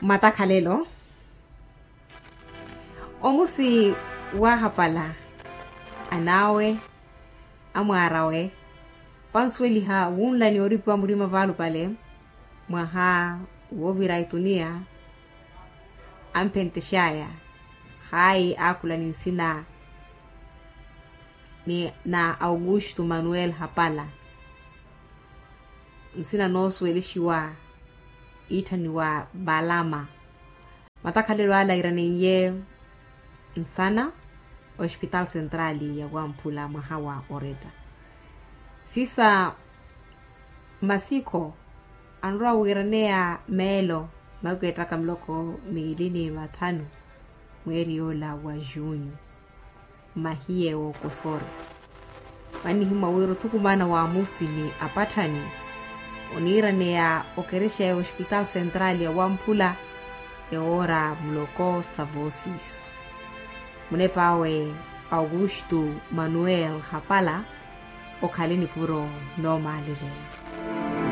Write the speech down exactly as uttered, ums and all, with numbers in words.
Matakhalelo. Omusi waahapala an'awe, amwaar'awe vansuweliha wunlani oripiwa murima vaalupale mwaha woovira etuniya. Amphentex'aya hayi aakhula ni nsina ni na augusto manuel hapala. Nsina noosuwelixiwa iitthaniwa balama. Matakhalelo ala iraneiye nsana ospitaal sentrali ya wamphula mwaha wa oretta. Sisa masikho anrowa wiraneya meelo makeettaka miloko miili ni mathanu mweeri yoola wa junyu. Mahiye wookosora. Mannihimwa wira othukumana wa musini apatthani oniiraneya okerexa ya ospitaal sentrali ya wamphula ewoora muloko sa voosiiso. Munep'awe augusto manuel hapala okhale nipuro noomaaleleya.